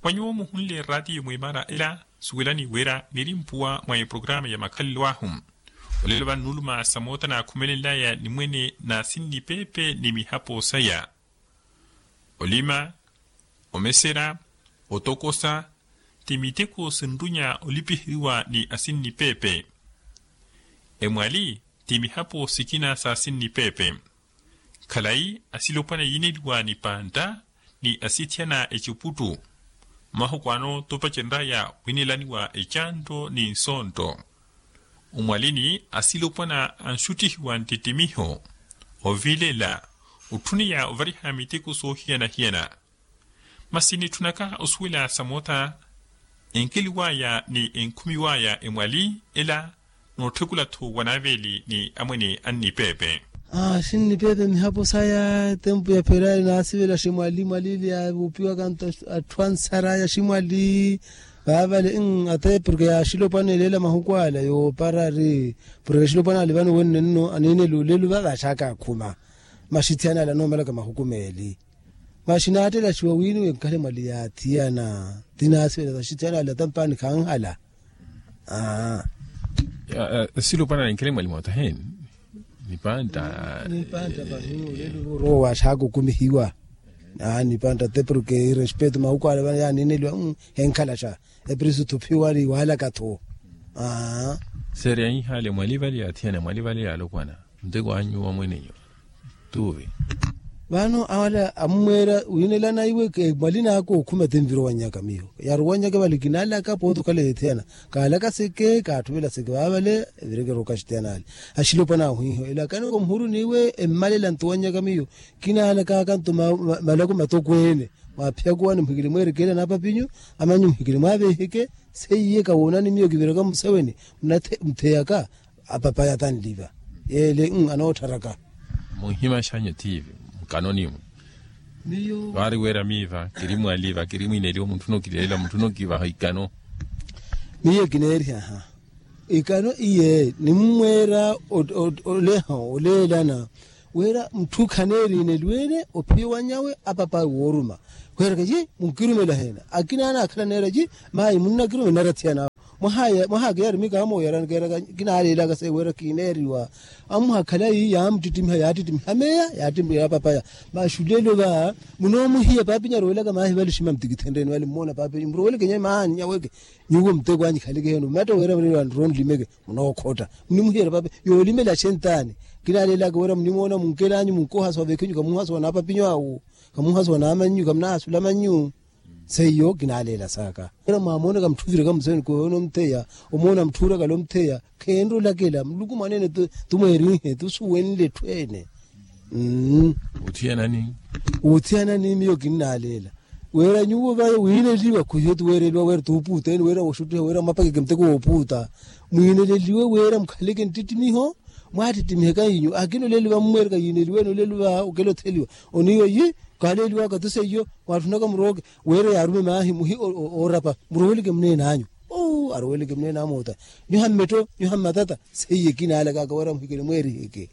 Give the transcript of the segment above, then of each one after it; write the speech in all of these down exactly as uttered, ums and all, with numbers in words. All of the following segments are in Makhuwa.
Wa nyuwo muhunle raatiyo mwimara ela suwelani wira niri mpuwa mwa eprokarama ya makhalelo ahu. Olelo vannuuluma sa moota naakhumelenlaya ni mwene naasinnipeepe ni mihapo saya. Olima, omesera, otokosa, ti miteko sinrunya olipiheriwa ni asinnipeepe. Emwali ti mihapo sikina sa asinnipeepe. Khalayi asilopwana yiineliwa ni pantta ni asithiyana ecuputtu. Mahuku ano topacenraya wiinelaniwa ecanto ni nsonto. Omwalini asilopwana anxuttihiwa nttittimiho, ovilela, otthuniya ovariha miteko soohiyana-hiyana. Masi nitthunaka osuwela sa moota enkeliwaya ni enkhumiwaya emwali ela. Nootthekula-tho wa naaveeli ni amwene annipeepe. Asinnipeepe mihapo saya etempu ya pherari naasivela ximwali mwali ili yaavupiwaka nto atthu ansaraya ximwali. Vaavale atepu porke yaaxilopwana eleela mahuku ala yooparari porke axilopwana ali vano wenne nno aniineli olelu va vaaxaka akhuma. Maxithiyana ala noomalaka mahuku meeli. Maxi naattelaxiwa wiiniwe nkhale mwali yaathiyana. Ti naasivela saxithiyana ala tampaani khanhala. Silopwana ninkhele mwali moota heni? Nipantta. Nipantta pahi olelo voorowa waaxaka okumihiwa. Nipantta te porke irespeto mahuku ale vano yaaniineliwa. Henkhalaxa. Eprisu thuphiwari waalaka-tho. Seerya ihaale mwali vale yaathiyana mwali vale yaalopwana. Nteko anyu wamwene nyu tuuvi. Vano awala ammweera wiinelana iwe mwali naaka okhuma ti nvirowannyaka miyo yarowannyaka vale kinaalaka pooti okhala yeethiyana. Kaalaka seke kaattuvela seke vaavale evireke erooka axitiyana ale. Axilopwana ahwiiho elakaniko muhuru n'iwe emmalela ntuwannyaka miyo. Kinaalakaka nto malako matokweene. Mwaaphiyaka owa nimuhikile mweereke ela naapapinyu. Amanyu muhikile mwaaveheke. Seiye kawoonani miyo kiviraka mmuseweni. Mtheyaka apapaya tanliva. Yeele anoottharaka. Munhima xanyu tiivi mukanoni-mu. Miyo vaari weera miiva kiri mwaliva kiri mwiineliwa munthu nookileela munthu nookivaha ikano. Miyo kineerihaha ikano iye nimmweera oleha oleelana. Wira mutthu khaneeriineliwene ophiya owanyawe apapa wooruma. Weeraka yi munkirumela heena akina anaakhala neera yi. Mayi munnakirumela narathiyana awo. Mwaha akeyarimika amooyarani keeraka kinaaleelaka se wira kineeriwa. Amuha khalayi yaamuttittimiha yaattittimiha meya yaattittimiha apapaya. Maxulelo va munoomuhiya paapinyu aroowelaka maahivali oxima mtikithenreni vale mmoona paapinyu murooweleke nyewe maahani nyaweke. Nyuwo muteko anyu ikhaleke heeno mmatta wira muriro anrowa onlimeke. Munookhotta munimuhiyerya pape yoolimela axentani. Kinaaleelaka wira munimoona munkelanyu munkohasowa vekhinyu kamuhasowa naapapinyu awo. Kamuhasowa naamannyu kamunaahasula mannyu. Seiyo kinaaleela saaka wira mwaamoonaka mutthu oviraka museni koyoona omutheya. Omoona mutthu oorakala omutheya kheenre olakela muluku mwaneene. Tumweerinhe tusuwenle etthu ene. Mmm. Uthiyanani. Uthiyanani miyo kinnaaleela. Wira nyuwo vayo wiineliwa khuhiyo tuweereliwa wira tuupuuteni wira woxuttiha wira mwapakeke muteko woopuuta. Mwiineleliwe wira mukhaleke nttittimiho. Mwaattittimihe kahinyu akina olelo vammweereka yiineliwene olelo va okela otheliwa. Oniiwa yi kaaleeliwaka tu seiyo. Mwaatthunaka murooke wira yaarume maahi muhi oorapa. Murooweleke muneen'anyu. Arooweleke muneen'amoota. Nyuha mmetto nyuha mmatata. Seiye kinaalakaka wira muhikele mweeriheke.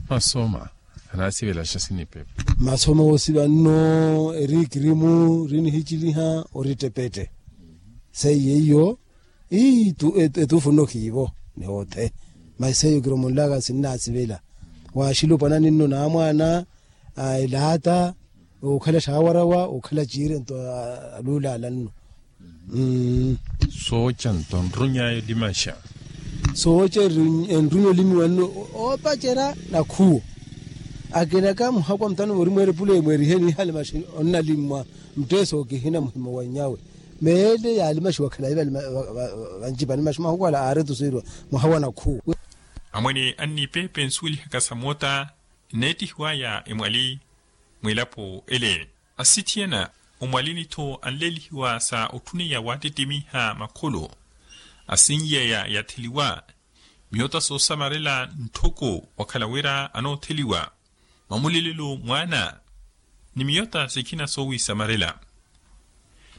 Masoma anaasivelaxa sinipepa. Masoma woosiva nno eri ikirimu ri nihiciliha ori ettepette. Seiye iyo etuufu nno khiivo. Ni oothe masi seiyo kiromonlaka sinnaasivela. Waaxilopwanani nno naamwaana elaata. Okhala xaawarawa okhala ciirento aluulaala nno. Sooca nto nruny'aya olimaxa. Sooca enrunya olimiwa nno oopacerya nakhuwo. Akinaka muhakwa mutano voori mweerepule mweerihe niihale maxi onnalimmwa. Mutteeso kihina muhimo wannyawe meele yaalimaxiwa khalayi vancipani maxi mahuku ala aaretuseriwa. Mwaha wa nakhuwo. Amwene annipeepe nsuwelihaka sa moota nneettihiw'aya emwali. Mwilapo ele asithiyana omwalini-tho anlelihiwa sa otthuneya waattittimiha makholo. Asinyeya yatheliwa miyota soosamarela ntthoko wakhala wira anootheliwa. Mamulelelo mwaana ni miyota sikhina soowisamarela.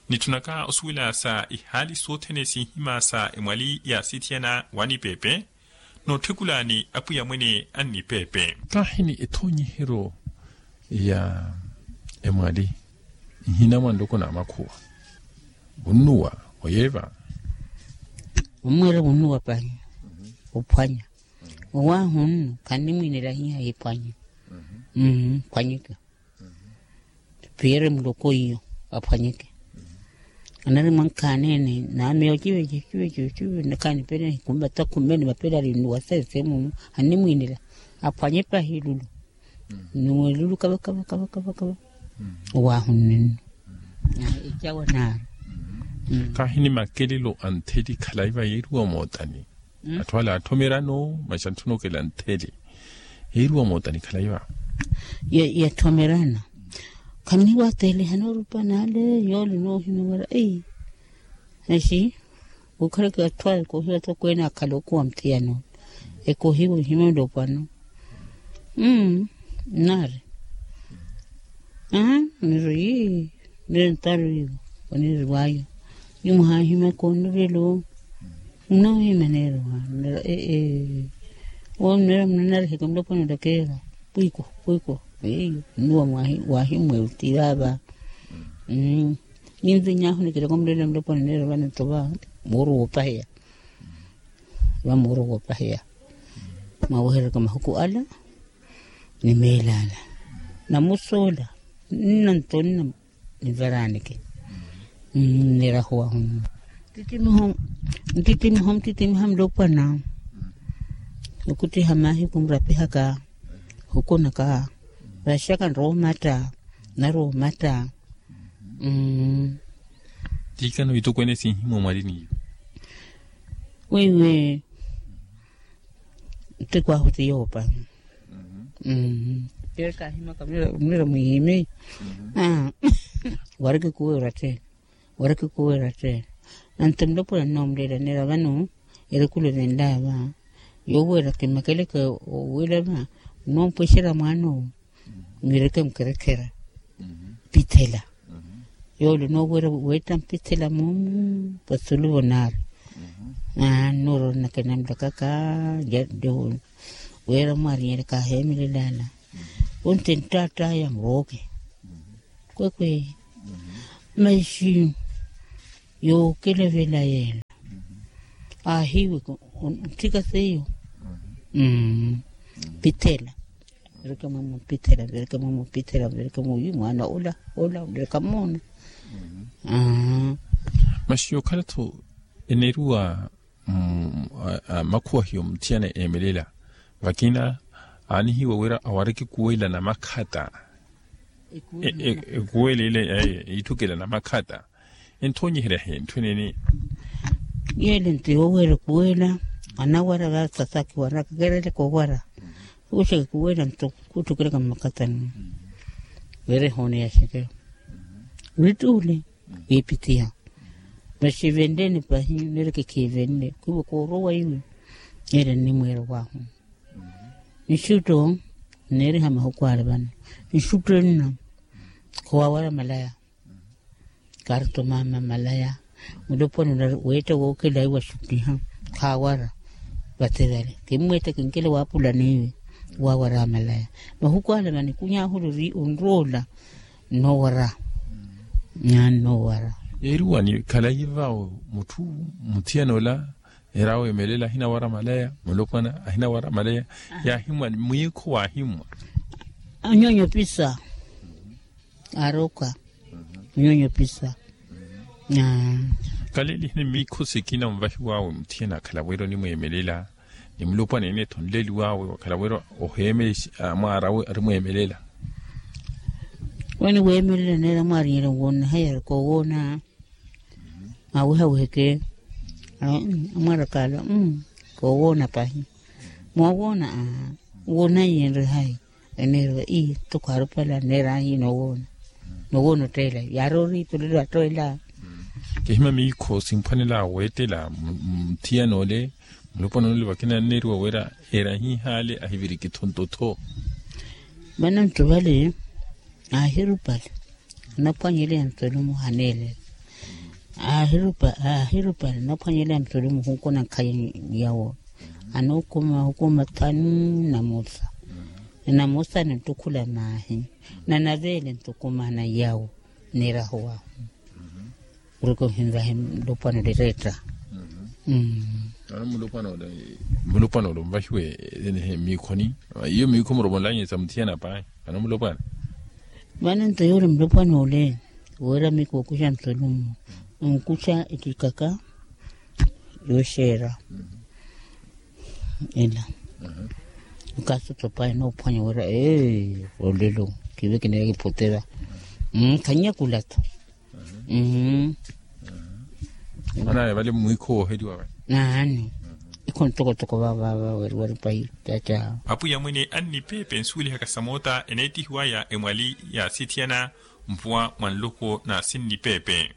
Nitthunaka osuwela sa ihaali sothene sinhima sa emwali yaasithiyana waanipeepe nootthekula ni apwiya mwene annipeepe. Kaahini ethoonyiheryo ya emwali Nhina mwa nloko na makhuwa, munnuwa oyeeva. Omweera munnuwa pahi ophwanya. Owaahu nnu khanimwiinela hiya hiphwanye. Phwanyeke. Piyeere muloko iyo aphwanyeke. Anari mwankhaanene nameyo civeco civeco cive nakhanipene hikumba takhumene mapela alinnuwa sese munu. Khanimwiinela aphwanye pahi lulu. Nnuwe lulu kava kava kava kava kava. Owaahunnennu. Ecawa naari. Kahi ni makelelo a ntheli khalayi va yeeriwa mootani. Atthu ala atthomerano masi antthunokela ntheli yeeriwa mootani khalayi va. Yatthomerana. Khanniwaateleha noorupa naale yoole noohimya wira. Masi okhaleke atthu aya ekohiwa tokweene akhala okhuwa muthiyan'ole. Ekohiwa ohimya olopwano. Nnaari. Aa niri. Niri ntaru iwo oniriw'ayo. Ni muhaahimyaka onirelo. Munoohimya neero waano nira ee. Owo munira munanariheke mulopwana olakeera. Pwiku pwiku. Eyo nnuwa. Waahimwe ottira va. Ninviny'ahu nikilaka omulelo mulopwana neero vano nto va. Muuru woopaheya. Va muuru woopaheya. Mwaweherereke mahuku ala ni meelo ala. Namusa ola nna nto nna nivaraaneke. Nirahuwahu nnu. Ntittimiho ntittimiho ntittimiha mulopwana. Okuttiha maahiku murapihaka. Hukunaka. Vaxaka nrowa omatta. Narowa omatta. Tiikano itokweene sinhimwa mwarini iyo. Weiwe. Ntikwahu ti yoopa. Mmm. Keekahimaka mira mwiimi. Wariki kuweera tte. Wariki kuweera tte. Anto mulopwana nnoomulelaneera vano. Erikulu evenlaya va. Yoweera kimakeleke owela va. Onoompwexerya mwaana owo. Nwireke mukerekhera. Mpithela. Yoole onoowerya weetta mpithela moomu. Vasulu vonaari. Aa nnooroorina kinamulakaka. Weera mwaarinyerya kaaheemelela ala. Onti nttaatt'aya murooke. Kwekwe. Masi yookelavela yeela. Aahiiweke. Ntthika seiyo. Mpithela. Vireke mwamumpithela vireke mwamumpithela vireke mwamumpithela mwaana ola ola onireka moona. Masi yookhala-tho eneeriwa makhuwa hiyo muthiyana eemelela. Vakina aanihiwa wira awareke kuwela na makhata. Ekuwela ile iitthukela na makhata. Enthoonyeherya he ntthu eneene. Yeele nto yooweera ekuwela. Anawara vaasasaki wara kakereleke owara. Kuuxeke kuwela nto kuutthukelaka mmakatani. Wira ehooneya xeke. Wittuule. Wiipittiha. Masi venleeni pahi nireke khiivenle khwiivo koorowa iwe. Yeele nnimweera owaahu. Nxutto nneeriha mahuku ale vano. Nxutto nna. Khuwawara malaya. Karto mama malaya. Mulopwana weetta wookela iwe axuttiha. Khaawara. Vate vale kimmweetta kinkela waapula n'iwe. Waawara malaya. Mahuku ale vano ikuny'ahu liri onroola. Nnoowara. Nnoowara. Yeeriwani khalayi vawo mutthu. Muthiyana ola. Era weemelela ahinawara malaya mulopwana ahinawara malaya. Yaahimwa mwiikho waahimwa. Onyonyo pisa. Aroka. Onyonyo pisa. Kalelihini miikho sikina onvahiw'awe muthiyana akhala wira onimweemelela. Ni mulopwana ene-tho onleliw'awe wakhala wira oheemele. Mwaara awe arimweemelela. Waniweemelela neera mwaarinyerya nwoona haya arikowoona. Awihawiheke. Amwarakaala. Koowoona pahi. Moowoona. Woonanyi enre hayi? Eneeriwa ii tokho arupala neera ahi noowoona. Noowoona otteela yaari oriipelelo attoela. Kihima miikho simphwanela weettela. Muthiyana ole mulopwana ole vakina anneeriwa wira eera ahihaale ahiviriki-tho nto-tho. Vano nto vale aahirupale. Anaphwanyeleya ntolumu haneelela. Aahirupale anaphwanyeleya ntolumu hunkuna nkhayi yawo. Anookuma hukuma thanu. Na musa. Na musa nittukhula maahi. Na naveele ntukumana yawo. Nirahuwa. Kuruka ohinvahe mulopwana ole reetta. Mulopwana ole mulopwana ole onvahiwe. Miikhoni iyo miikho muromonlanye sa muthiyana pahi. Vano mulopwana. Vano nto yoole mulopwana ole wira miikho okuxa ntolumu onkuxa ekikaka yooxeera. Ela. Okasotopa enoophwanya wira ee olelo kive kinaya kiphotera. Khannyakula-tho. Mmm. Manaye vale mwiikho wooheliwa vale. Naani. Ikho ntokotoko vavava weriwari pahi. Caca. Apwiya mwene annipeepe nsuwelihaka samoota eneettihiwaya emwali ya sithiyana mpuwa mwa nluku na sinnipeepe.